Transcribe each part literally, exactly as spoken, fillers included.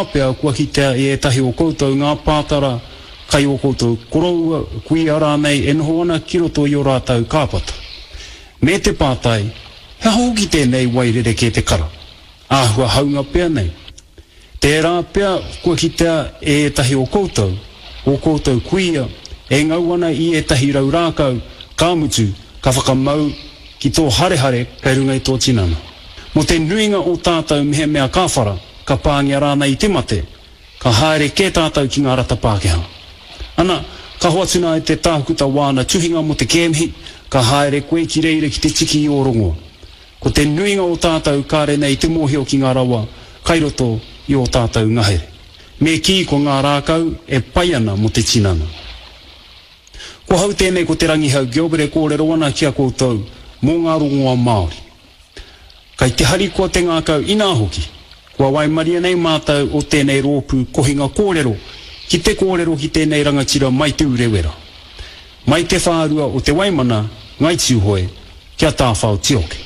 Pea kua kitea e ētahi o koutou ngā pātara kai ō koutou koroua, kuia rānei e noho ana ki roto i ō rātou kāpata. Me te pātai, he aha hoki tēnei wai rerekē te kara? Āhua haunga pea nei. Tērā pea kua kitea e ētahi o koutou, ō koutou kuia, e ngau ana i ētahi rau rākau, ka mutu, ka whakamau ki tō harehare kei runga i tō tinana. Mō te nuinga o tātou mehemea ka whara, ka pāngia rānei i te mate, ka haere kē tātou ki ngā rata Pākehā. Ana, ka hoatu nā e te tākuta wāna tuhinga mō te kēmihi, ka haere koe ki reira ki te tiki i ō rongoa. Ko te nuinga o tātou kāre nei te mōhio ki ngā rawa kai roto i ō tātou ngahere. Me kī ko ngā rākau e pai ana mō te tinana. Ko hau tēnei ko Te Rangihau Gilbert e kōrero ana ki a koutou mō ngā rongoa Māori. Kai te harikoa te ngākau inā hoki, kua waimaria nei mātou o tēnei rōpū kohinga kōrero ki te kōrero ki tēnei rangatira mai Te Urewera, mai te whārua o Te Waimana, Ngai Tūhoe, ki a Tāwhao Tioke.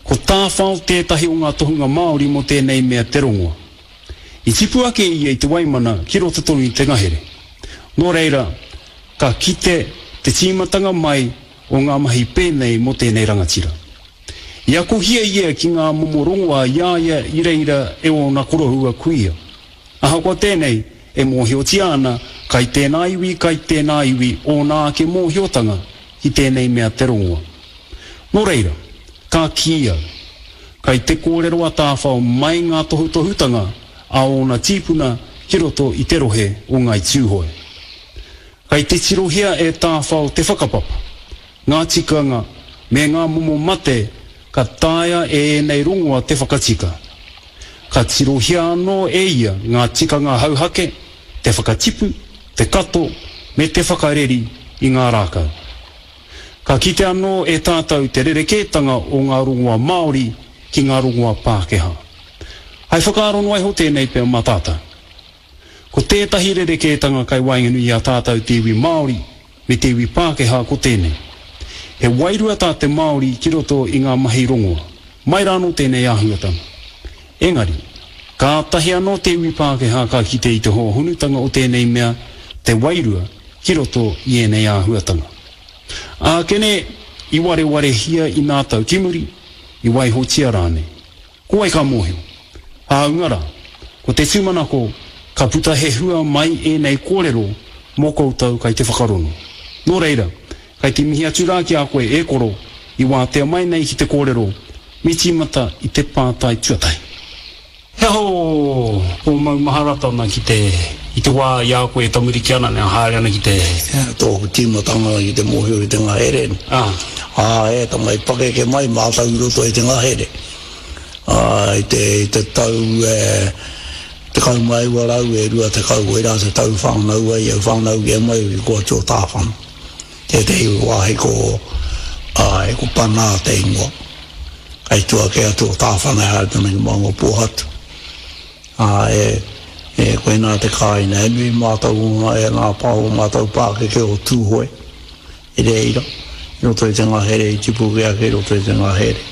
Ko Tāwhao tētahi o ngā tohunga Māori mō tēnei mea te rongoa. I tipu ake ia i Te Waimana ki roto tonu i te ngahere. Nō reira, ka kite te tīmatanga mai o ngā mahi pēnei mō tēnei rangatira. I akohia ia ki ngā momo rongoa i a ia i reira e ōna koroua kuia. Ahakoa tēnei, e mōhiotia ana kai tēnā iwi, kai tēnā iwi ōna ake mōhiotanga ki tēnei mea te rongoa. Nō reira, ka kī au, kai te kōrero a Tāwhao mai ngā tohutohutanga a ōna tīpuna ki roto i te rohe o Ngāi Tūhoe. Kai te tirohia e Tāwhao te whakapapa, ngā tikanga me ngā momo mate ka taea e ēnei rongoa te whakatika. Ka tirohia anō e ia ngā tikanga hauhake, te whakatipu, te kato, me te whakareri i ngā rākau. Ka kite anō e tātou te rerekētanga o ngā rongoa Māori ki ngā rongoa Pākehā. Hai whakaaro noa iho tēnei pea mā tātou. Ko tētahi rerekētanga kai waenganui i a tātou te iwi Māori me te iwi Pākehā ko tēnei. He wairua tā te Māori ki roto i ngā mahi rongoa. Mai rānō tēnei āhuatanga. Engari, kātahi anō te iwi Pākehā ka kite i te hōhonutanga o tēnei mea, te wairua, ki roto i ēnei āhuatanga. Ākene, i warewarehia i nā tau ki muri, i waihotia rānei. Ko wai ka mōhio? Hāunga rā, ko te tūmanako, ka puta he hua mai ēnei kōrero mō koutou kai te whakarongo. Nō reira, kai te mihi atu rā ki a koe e koro, i wātea mai nei ki te kōrero, me tīmata i te pātai tuatahi. He aha ō maumaharatanga ki te, i te wā i a koe e tamariki ana, e haere ana ki te. Tōku tīmatanga ki te mōhio ki te ngahere. Ā. Ā, e tama i pakeke mai mātou i roto i te ngahere. Ā, i te, i te tau e tekau mā iwa rau e rua tekau, koirā te tau whānau ai au, whānau kē mai au ki Koati o Tāwhana. Tētehi wāhi ko, āe, ko Panā te ingoa. Kai tua kē atu o Tāwhana e haere tonu ki Maungapōhatu. Ā, e, e, koinā te kāinga. E nui mātou o ngā, e ngā pā o mātou pākeke o Tūhoe i reira, i roto i te ngahere, i tipu kē ake i roto i te ngahere.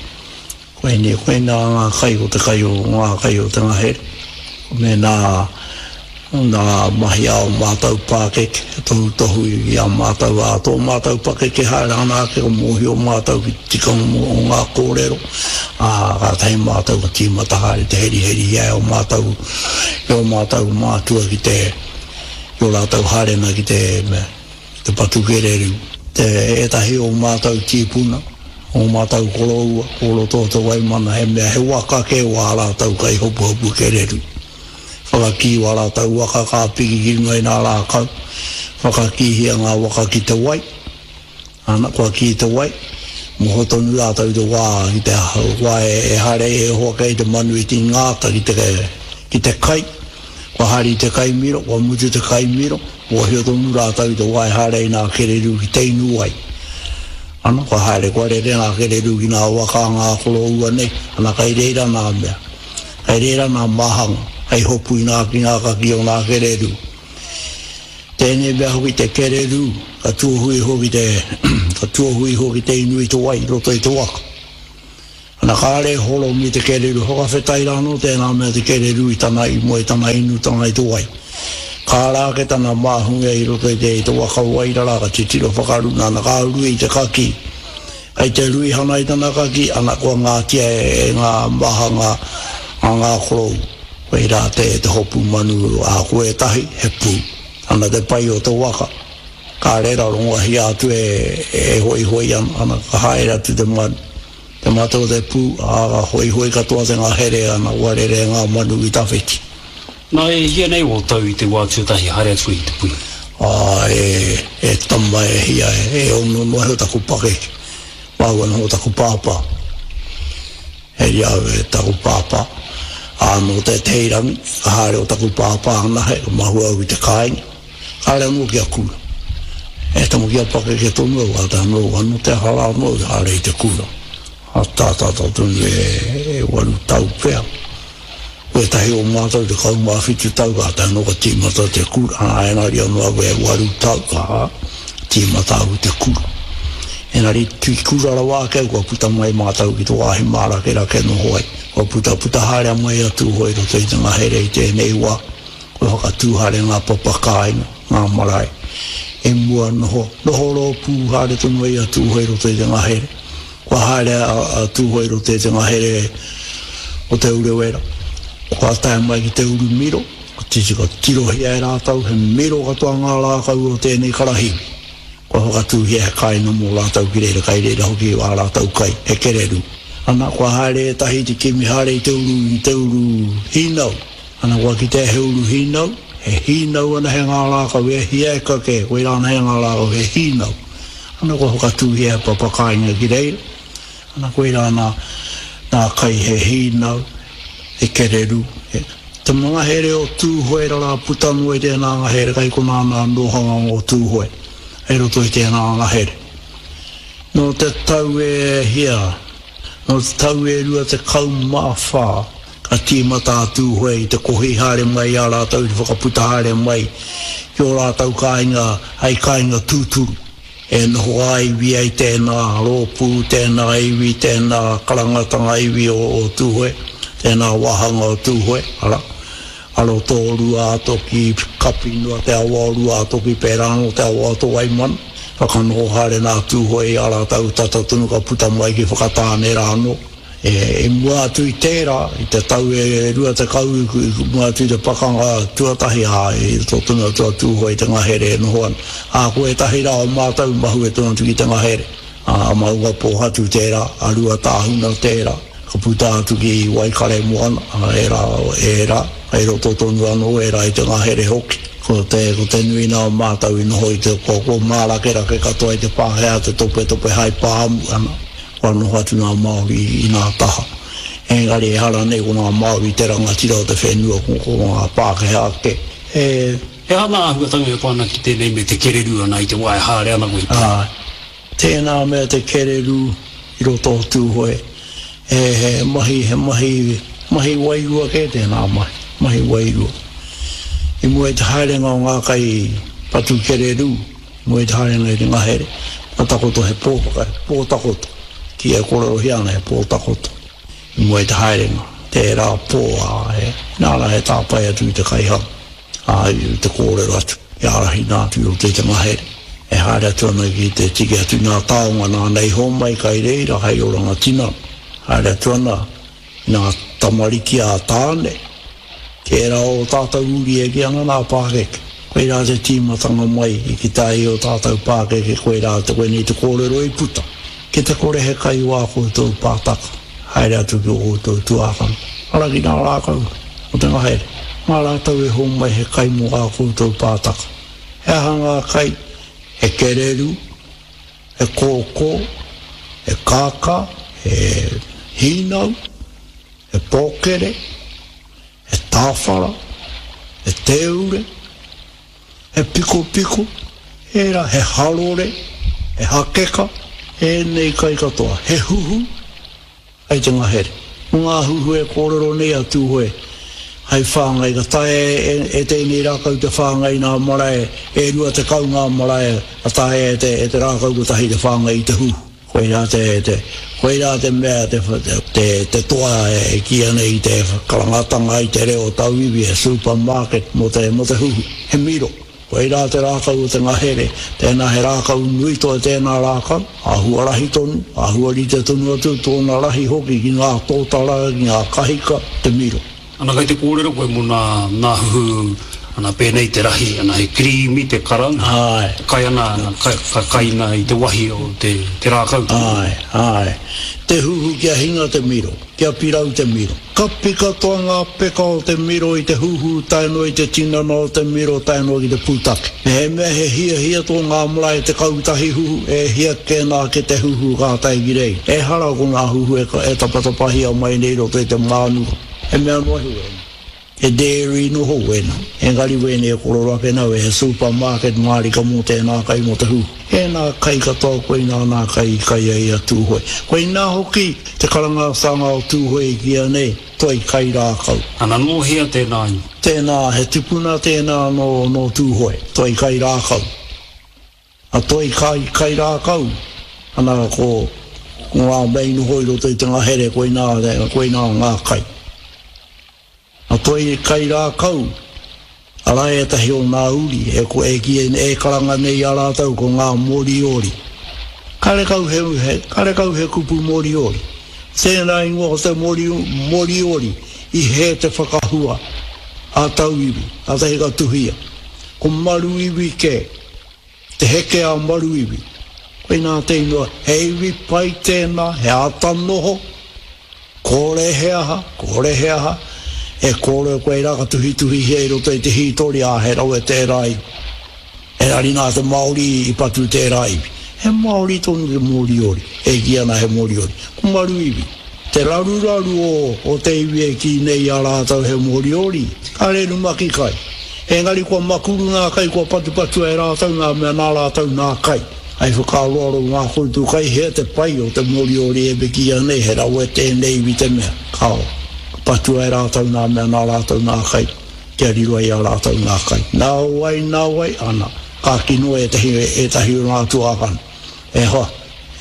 Koinei, koinā ngā kai o te kai o ngā kai o te ngahere. Me nā, nā mahi a ō mātou pākeke, tohutohu i a mātou, ā, tō mātou pakeke haere ana ake, ko mōhio mātou ki te tikanga o ngā kōrero, ā, kātahi mātou ka tīmata haere te heriheri i a ō mātou, i ō mātou mātua ki te, i ō rātou haerenga ki te, te patu kererū. Te ētahi o mātou tīpuna, o mātou koroua, o roto o Te Waimana, he mea, he waka kē wā rātou kai hopuhopu kererū. Whakakī wā rātou waka ka piki ki runga i nā rākau, whakakīhia ngā waka ki te wai, ana, kua kī te wai, moho tonu rātou i te wā, i te wā e haere e hoa kei te manu i te ngāta ki te, ki te kai, kua haere i te kai miro, kua mutu te kai miro, mōhio tonu rātou i te wā e haere ai nā kererū ki te inu wai. Ana, kua haere, kua rere ngā kererū ki ngā waka a ngā koroua nei, ana, kai reira nā mea, kai reira nā māhanga, hei hopu i ngā ki ngā kaki o ngā kererū. Tēnei mea hoki te kererū, ka tuohu iho ki te, ka tuohu iho ki te inu i te wai i roto i te waka. Ana kāre horomi te kereru, whakawhetai rānō tēnā mea te kereru i tana i mua i tana inutanga i te wai. Ka ara ake tana māhunga i roto i te, i te waka wairara, ka titiro whakaruna, ana ka rui i te kaki. Kai te rui hana i tana kaki, ana kua ngātia e, e ngā mahanga a ngā korou. Koirā te, te hopu manu a ko ētahi, he pū. Ana te pai o te waka. Ka rera rongohia atu e, e hoihoi ana, ana ka haere atu te manu. Te mate o te pū, ā, ka hoihoi katoa te ngahere ana, kua rere ngā manu ki tawhiti. Nā, e hia nei ō tau i te wā tuatahi haere atu i te pui? Ā, e, e tama e hia, e, e ono noa iho taku pakeke. Māua noho taku pāpā. Hei au e taku pāpā. Ā, nō tētehi rangi, ka haere o taku pāpā anahe, ka mahue au i te kāinga. Kāre anō kia kura. E tama kia pakeke tonu au, kātahi anō, anō te aha rā anō i haere i te kura. A tātata tonu e, e waru tau pea. Ko ētahi o mātou tekau mā whitu tau, kātahi anō ka tīmata te kura. Ā, engari anō au e waru tau, ā, tīmata au i te kura. Engari, ki kura rawa ake au, kua puta mai mātou ki te wāhi mārakerake noho ai. Kua puta, puta haere mai a Tūhoe i roto i te ngahere i tēnei wā. Kua whakatū haere ngā papa kāinga, ngā marae. I mua noho, noho rōpū haere tonu ai a Tūhoe i roto i te ngahere. Kua haere a, a Tūhoe i roto i te ngahere o Te Urewera. Kua tae mai ki te uru miro, ka titi, ka tirohia e rātou, he miro katoa ngā rākau o tēnei karahiwi. Kua whakatūhia he kāinga mō rātou ki reira, kai reira hoki ā rātou kai, he kereru. Ana, kua haere ētahi te kimi haere i te uru, i te uru hīnau. Ana, kua kitea he uru hīnau, he hīnau ana he ngā rākau, e hia e kake, koirā ana he ngā rākau, he hīnau. Ana, kua whakatūhia he papa kāinga ki reira. Ana, koirā nā, nā kai he hīnau, he kereru, he... Te ngahere o Tūhoe rara puta noa i tēnā ngahere, kai konā nā nohanga o Tūhoe, hei roto i tēnā ngahere. Nō te tau e hia, nō te tau e rua tekau mā whā, ka tīmata a Tūhoe i te kohi haere mai i a rātou, i te whakaputa haere mai ki ō rātou kāinga hei kāinga tūturu. E noho ā-iwi ai tēnā rōpū, tēnā iwi, tēnā karangatanga iwi o, o Tūhoe, tēnā wāhanga o Tūhoe, arā, a roto o Ruātoki, kapi noa te awa o Ruātoki, pērā anō te awa o Tōwaimana. Whakanoho haere nā Tūhoe i a rātou tata tonu ka puta mai ki Whakatāne rā anō. E, i mua atu i tērā, i te tau e rua tekau i, i mua atu i te pakanga tuatahi, ā, i roto tonu atu a Tūhoe i te ngahere e noho ana. Ā, ko ētahi rā o mātou mahue tonu atu ki te ngahere. Ā, a Maungapōhatu tērā, a Ruatāhuna tērā, ka puta atu ki Waikaremoana, ā, ērā, ērā, kei roto tonu anō ērā i te ngahere hoki. Ko te, ko te nui nā o mātou i noho i te, ko, ko mārakerake katoa i te Pākehā te topetope hai pāmu ana. Kua noho atu ngā Māori i ngā taha. Engari ehara nei ko ngā Māori te rangatira o te whenua, ko, ko ngā Pākehā ake. E... He aha ngā āhuatanga e pā ana ki tēnei me te kereru ana i te wā e haere ana koe i te. Ā, tēnā mea te kereru i roto o Tūhoe, he, he mahi, he mahi, mahi wairua kē tēnā mahi, mahi wairua. I mua i te haerenga o ngā kai patu kereru, mua i te haerenga i te ngahere, ka takoto he pō, he pō takoto, ki e kōrerohia ana he pō takoto. I mua i te haerenga, tērā pō, ā, he, nāna he tāpae atu i te kaihanga, ā, i te kōrero atu, i ārahina atu i roto i te ngahere. E haere atu ana ki te tiki atu i ngā taonga nāna i homai kai reira hei oranga tinana. Haere atu ana i ngā tamariki a Tāne, tērā o tātou uri e kī ana nā pākeke. Koirā te tīmatanga mai i ki tā i o tātou pākeke, koirā te koinei te kōrero i puta. Ki te kore he kai o ā koutou pātaka, haere atu ki ō koutou tuākana, ara ki ngā rākau o te ngahere. Mā rātou e homai he kai mō ā koutou pātaka. He aha ngā kai? He kereru, he kōkō, he kākā, he hīnau, he pōkere, he tāwhara, he tēure, he pikopiko, ērā, he harore, he hakeka, ēnei kai katoa, he huhu, kai te ngahere. Ko ngā huhu e kōrero nei a Tūhoe, hai whāngai, ka taea e, e, e tēnei rākau te whāngai ngā marae, e rua tekau ngā marae, ka taea e te, e te rākau kotahi te whāngai i te huhu. Koirā te, te, Koirā te mea te, te, te toa e kīia nei te karangatanga i te reo tauiwi he supermarket mō te, mō te huhu. He miro. Koirā te rākau o te ngahere, tēnā he rākau nui toi tēnā rākau, āhua rahi tonu, āhua rite tonu atu tōna rahi hoki ki ngā tōtara, ki ngā kahika, te miro. Ana kai te kōrero koe mō nā, nā huhu, ana pēnei te rahi, ana he kirīmi te kara, Āe. kai ana, ana, kai, ka kaina i te wahi o te, te rākau. Āe, āe. Te huhu kia hinga te miro, kia pirau te miro. Kapi katoa ngā peka o te miro i te huhu tae noa i te tinana o te miro tae noa ki te pūtake. Mehemea he hiahia tō ngā marae tekau tahi huhu, e hia kēnā ke te huhu ka tae ki reira. Ehara ko ngā huhu e, e tapatapahia mai nei roto i te mānuka. He mea noa iho wēnā. He dairy noho wēnā. Engari wēnei e korero ake nau e he supermarket mārika mō tēnā kai mō te huhu. Ēnā kai katoa koinā nā kai i kai ai a Tūhoe. Koinā hoki te karangatanga o Tūhoe i kīia nei, toi kai rākau. Ana nō hea tēnā ingoa? Tēnā, he tipuna tēnā nō, nō Tūhoe, toi kai rākau. A toi kai, kai rākau, ana ko, ko ngā mea i noho i roto i te ngahere, koinā, koinā ngā kai. A toi kai rākau, arā ētahi o ngā uri, e, ko, e, ki, e karanga nei i a rātou ko ngā Moriori. Karekau he, he, karekau he kupu Moriori. Tēnā ingoa o te mori, Moriori i hē te whakahua a tauiwi, kātahi ka tuhia. Ko Maruiwi kē, te heke a Maruiwi. Koinā te ingoa, he iwi pai tēnā, he āta noho, kore he aha, kore he aha, e kōrero koe rā ka tuhituhihia i roto i te hītori, ā, he rawe tērā iwi. Engari nā te Māori i patu tērā iwi. He Māori tonu te Moriori, e kī ana he Moriori. Ko Maruiwi, te raruraru o, o te iwi e kī nei i a rātou he Moriori, kāre rumaki kai. Engari kua makuru ngā kai, kua patupatua e rātou ngā mea nā rātou nā kai. Hai whakaaroaro ngā koutou kai hea te pai o te Moriori e kīia nei he rawe tēnei iwi te mea. Kāo, ka patua e rātou ngā mea nā rātou nā kai, kia riro ai a rātou ngā kai. Nā wai, nā wai, ana, ka kino ētahi, ētahi o ngā tuākana. E hoa,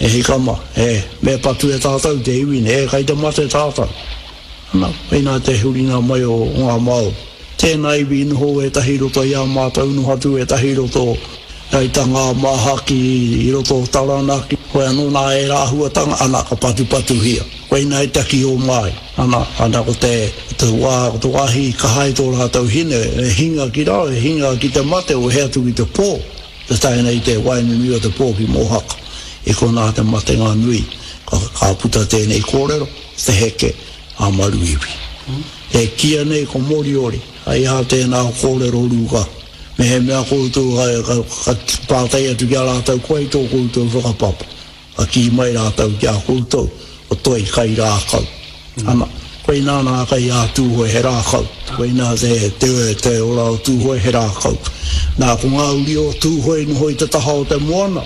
e hika mā, e, me patu e tātou te iwi nei, e kai te mate tātou. Ana, koinā te huringa mai o, o ngā Māori. Tēnā iwi i noho ētahi i roto i a mātou, noho atu ētahi i roto i tā ngā māhaki i roto o Taranaki. Koe anō nā ērā āhuatanga, ana, ka patupatuhia. Koinā i taki o mai. Ana, ana ko te, ko te wā, ko te wāhi i kaha ai tō rātou hine, e hinga ki raro, e hinga ki te mate, wehe atu ki te pō, te tae nei te waenganui o te pō ki Mōhaka. I konā te matenga nui, ka, ka puta tēnei kōrero, te heke a Maruiwi. E kīia nei ko Moriori, ai ā tēnā kōrero rūka. Mehemea koutou ka, ka, ka pātai atu ki a rātou, ko ai tō koutou whakapapa? Ka kī mai rātou ki a koutou, ko toi kai rākau. Ana, koinā nā kai a Tūhoe he rākau. Koinā te, te, te ora o Tūhoe he rākau. Nā, ko ngā uri o Tūhoe i noho i te taha o te moana,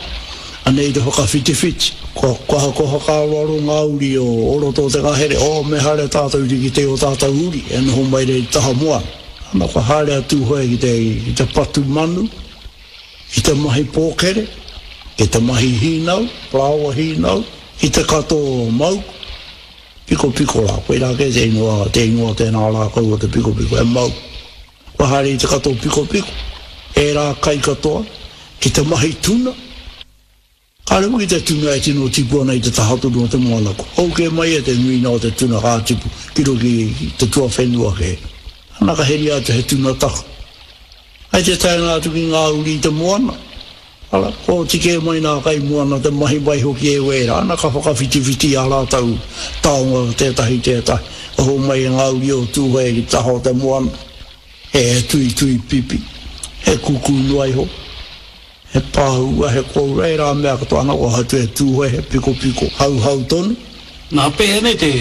anei te whakawhitiwhiti. Kua, kua, kua whakaaroaro ngā uri o, o roto o te ngahere, oh, me haere tātou ki te o tātou uri, e noho mai rei te taha moana. Ana, kua haere a Tūhoe ki te, ki te patu manu, ki te mahi pōkere, ki te mahi hīnau, parāoa hīnau, ki te kato mau, pikopiko rā. Koirā kē te ingoa, te ingoa tēnā rākau o te pikopiko, he mau. Kua haere i te kato pikopiko, ērā kai katoa, ki te mahi tuna. Kāre hoki te tuna e tino tipu ana i te taha tonu o te moana. Kua hou kē mai e te nuinga o te tuna ka tipu ki roto ki te tuawhenua kē. Ana ka heria atu he tuna taku. Hai te taenga atu ki ngā uri i te moana, ara, kua oti kē mai nā kai moana te mahi mai hoki e wērā, ana ka whakawhitiwhiti i ā rātou taonga tētahi tētahi. Ka homai e ngā uri o Tūhoe ki te taha o te moana, he tuitui pipi, he kuku noa iho. He pāua, he kōura, ērā mea katoa ana kua hoatu e Tūhoe, he pikopiko hauhau tonu. Nā, pēhea nei te,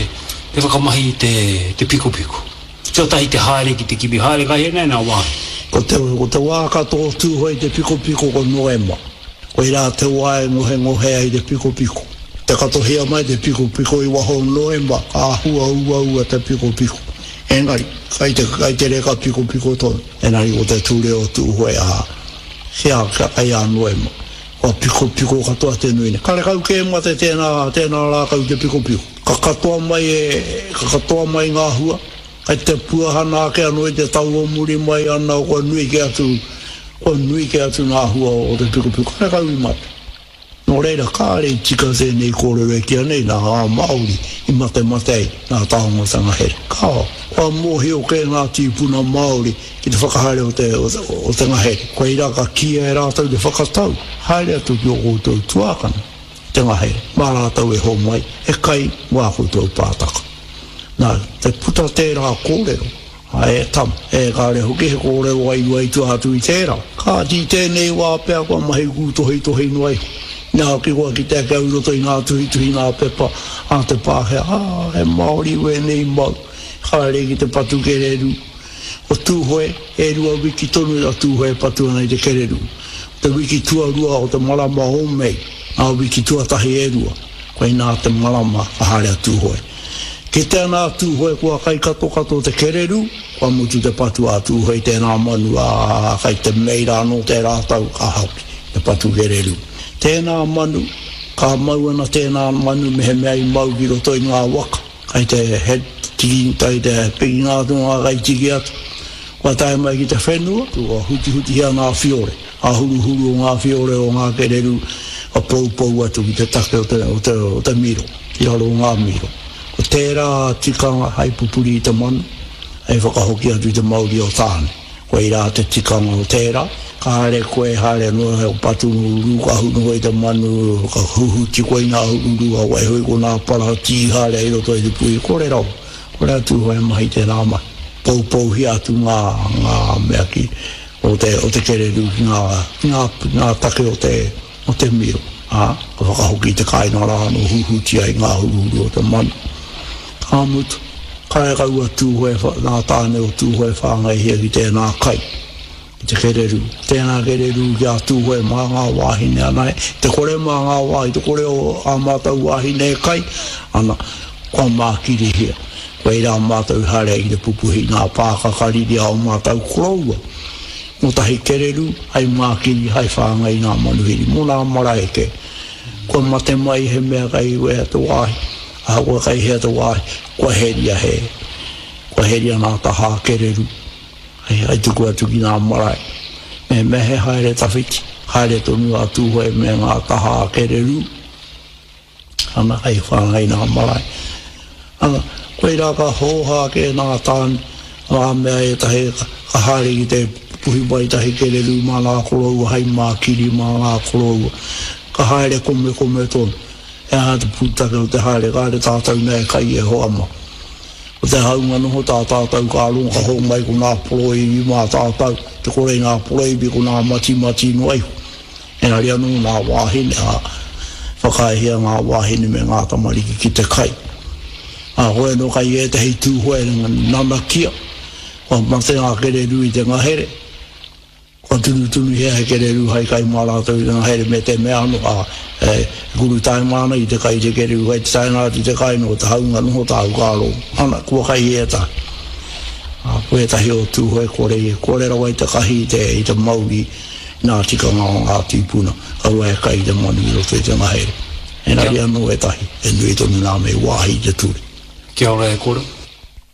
te whakamahi i te, te pikopiko? Tuatahi te haere ki te kimi haere kai hea nei nā wāhi? Ko te, ko te wā ka tō Tūhoe i te pikopiko ko Noema. Koirā te wā e ngohengohe ai te pikopiko. Te katohia mai te pikopiko i waho o Noema, ka āhua uaua te pikopiko. Engari, kai te, kai te reka pikopiko tonu. Engari ko te ture o Tūhoe, ā, Kia, kia kai a Noema. Kua pikopiko katoa te nui nei. Karekau kē mate tēnā, tēnā rākau te pikopiko. Ka katoa mai e, ka katoa mai ngā hua, kai te puahana ake anō i te tau o muri mai ana kua nui kē atu, kua nui kē atu ngā hua o te pikopiko. Karekau i mate. Nō reira, kāre i tika tēnei kōrero e kīa nei nā ngā Māori i matemate ai ngā taonga o te ngahere. Kāo, kua mōhio kē ngā tīpuna Māori ki te whakahaere o te, o te, o te ngahere. Koirā ka kīia e rātou te whakatau, haere atu ki ō koutou tuākana i te ngahere, mā rātou e homai he kai mō ā koutou pātaka. Nā, te puta tērā kōrero, A e tama, e kāre hoki he kōrero wairua i tua atu i tērā. Kāti i tēnei wā pea kua mahi kūtohitohi noa iho. Inā hoki kua kite ake au i roto i ngā tuhituhi ngā pepa a te Pākehā, ā, he Māori wēnei mau, haere ki te patu kererū. Ko Tūhoe, e rua wiki tonu a Tūhoe e patu ana i te kererū. Ko te wiki tuarua o te marama o Mei, ngā wiki tuatahi e rua, koinā te marama ka haere a Tūhoe. Kite ana a Tūhoe kua kai katokato te kererū, kua mutu te patu a Tūhoe i tērā manu, ā, kai te mei rā nō tērā tau ka hoki te patu kererū. Tēnā manu, ka mau ana tēnā manu mehemea i mau ki roto i ngā waka, kai te he tiki, kai te pikinga atu o ngā kaitiki atu, kua tae mai ki te whenua, kua hutihutihia ngā whiore, ngā huruhuru o ngā whiore o ngā kererū, ka poupou atu ki te take o te, o te, o te miro, ki raro o ngā miro. Ko tērā tikanga hei pupuri i te manu, hei whakahoki atu i te mauri o Tāne. Koirā te tikanga o tērā. Ka haere koe, haere noa he patu rūkahu noa i te manu, ka huhuti koe i ngā hururu, ka waiho i konā para tīhare i roto i te puhi. Kore rawa, kore atu e mahi tērā mahi. Poupouhia atu ngā, ngā mea ki, o te, o te kererū ki ngā, ki ngā, ngā take o te, o te miro, ā, ka whakahoki i te kāinga rā anō huhuti ai ngā huruhuru o te manu. Ka mutu, karekau a Tūhoe, ngā tāne o Tūhoe whāngaihia ki tēnā kai, ki te kererū. Tēnā kererū ki a Tūhoe mā ngā wāhine anahe, te kore mā ngā wāhi, te kore o ā mātou wāhine e kai, ana, kua mākirihia. Koirā mātou i haere ai ki te pupuhi i ngā pākaka riri a ō mātou koroua. Kotahi kererū, hai mākiri, hai whāngai i ngā manuhiri mō nā marae kē. Kua mate mai he mea kei wea te wāhi, ahakoa kei hea te wāhi, kua heria he, kua heria ngā tahā kererū, hei, hei tuku atu ki ngā marae. Mehemea he haere tawhiti, haere tonu a Tūhoe me ngā tahā kererū. Ana, hei whāngai nā marae. Ana, koirā ka hōhā kē nā tāne, ngā mea ētahi ka haere ki te puhi mai tahi kererū mā ngā koroua hei mākiri mā ngā koroua. Ka haere komekome tonu. He aha te pūtake o te haere, kāre tātou nei e kai e hoa mā. Ko te haunga noho tā tātou ka rongo ka hōmai ko ngā poroiwi mā tātou, te kore i ngā poroiwi ko ngā matimati noa iho. Engari anō ngā wāhine, ā, whakaaehia ngā wāhine me ngā tamariki ki te kai. Ā, hoi anō kai ētahi Tūhoe nanakia, kua mate ngā kererū i te ngahere, kua tunutunuhia he kererū hai kai mā rātou i te ngahere me te mea anō, ā, e kurutaima ana ki te kai i te kererū, kai te taenga atu i te kai nō te haunga noho tāu ka rongo, ana, kua kai ētahi. Ā, ko ētahi o Tūhoe kore, kore rawa i te kahi i te, i te mauri, Nā tikanga o ngā tīpuna, kaua e kai i te manu i roto i te ngahere. Engari anō ētahi, he nui tonu nā me wāhi i te ture. Kia ora e koro.